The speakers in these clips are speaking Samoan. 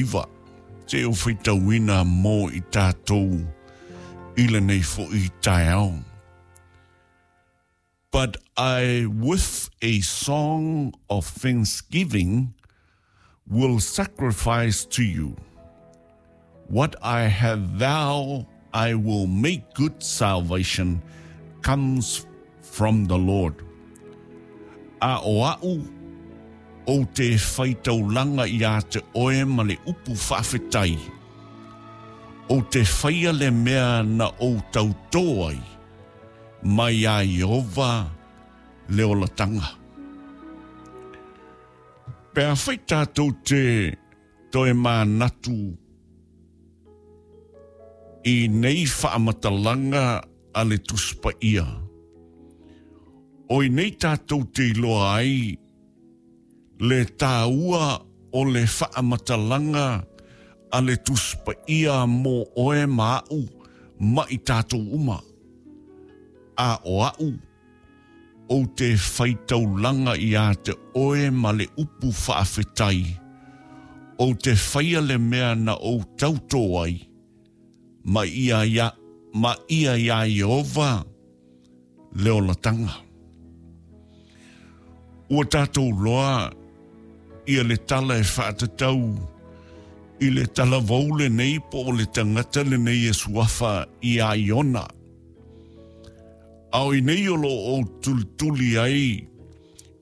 9, se i ou faitauina mo i tatou i lenei foi taeao. But I with a song of thanksgiving will sacrifice to you. What I have vowed I will make good salvation comes from the Lord. A o a'u, ou te faitaulaga iā te oe ma le upu faafetai, ou te faia le mea na ou tautō ai, mai iā Ieova le olataga. Pe afai tatou te toe manatu i nei faamatalaga a le Tusi Paia, o i nei tatou te iloa ai le tāua o le faamatalaga a le Tusi Paia mō oe ma aʻu ma i tatou uma. A o aʻu, ou te faitaulaga iā te oe ma le upu faafetai, ou te faia le mea na ou tautō ai, ma ia ia, ma ia iā Ieova le olataga. Ua tatou loa ia le tala e faatatau i le talavou lenei po o le tagata lenei e suafa iā Iona. A o inei o lo o tulituli ai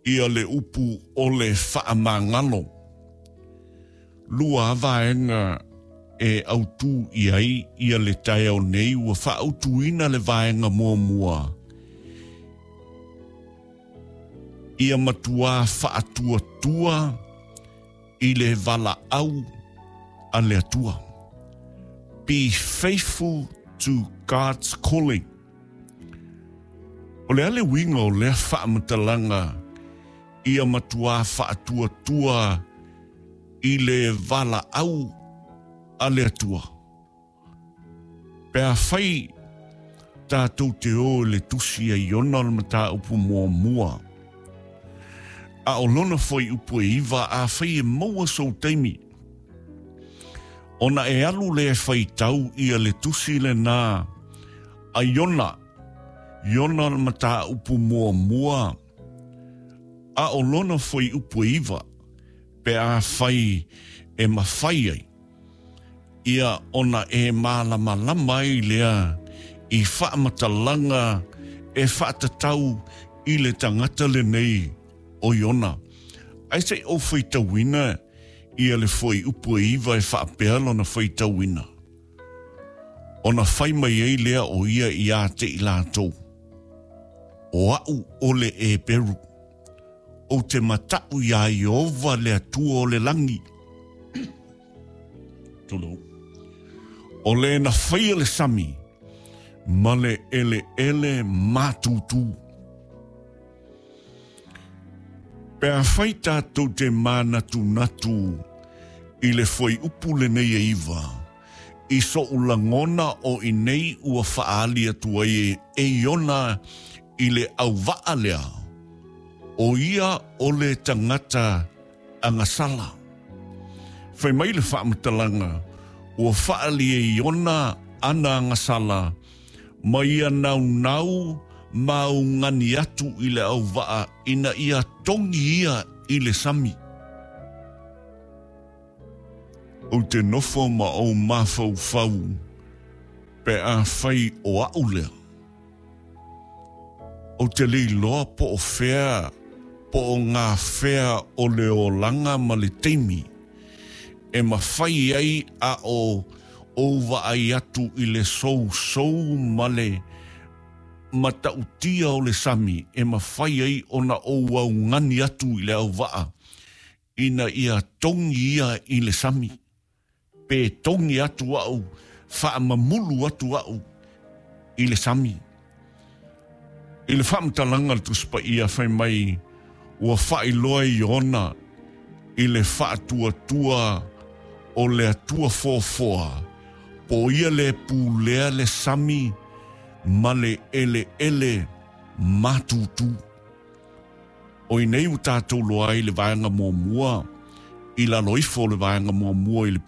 ia le upu o le faamagalo. Lua vaega e autū i ai ia le taeao nei ua faautuina le vaega muamua ia matuā faatuatua i le valaau a le Atua. Be faithful to God's calling. O le a le uiga o lea faamatalaga ia matuā faatuatua i le valaau a le Atua? Pe afai tatou te o i le tusi a Iona o le mataupu muamua, a o lona fuaiupu e 9, afai e maua sou taimi, ona e alu lea e faitau ia le tusi lenā a Iona, Iona o le mataupu muamua, a o lona fuaiupu e 9, pe afai e mafai ai ia ona e mālamalama ai lea i faamatalaga e faatatau i le tagata lenei o Iona. Ae se i ou faitauina ia le fuaiupu e 9 e faapea lona faitauina, Ona fai mai ai lea o ia iā te i latou, O aʻu o le Eperu, ou te mataʻu iā Ieova le Atua o le lagi. Tulou. O le na faia le sami ma le eleele mātūtū. Pe afai tatou te mānatunatu i le fuaiupu lenei e 9, i soʻu lagona o i nei ua faaali atu ai e Iona i le auvaa lea, o ia o le tagata agasala. Fai mai le faamatalaga, ua faaali e Iona ana agasala ma ia naunau ma augani atu i le auvaa ina ia togi ia i le sami. Ou te nofo ma ou mafaufau pe afai o aʻu lea. Ou te le iloa po o fea po o ngā fea o le olaga ma le taimi e mafai ai a o ou vaai atu i le sousou ma le matautia o le sami e mafai ai ona ou augani atu i le auvaa ina ia togi ia i le sami. Pe togi atu au, faamamulu atu au i le sami. I le faamatalaga a le Tusi Paia fai mai ua faailoa e Iona i le faatuatua o le Atua foafoa, po o ia le pulea le sami ma le eleele matutu. O i nei ua tatou loa ai le vaega muamua i lalo ifo o le vaega muamua i le.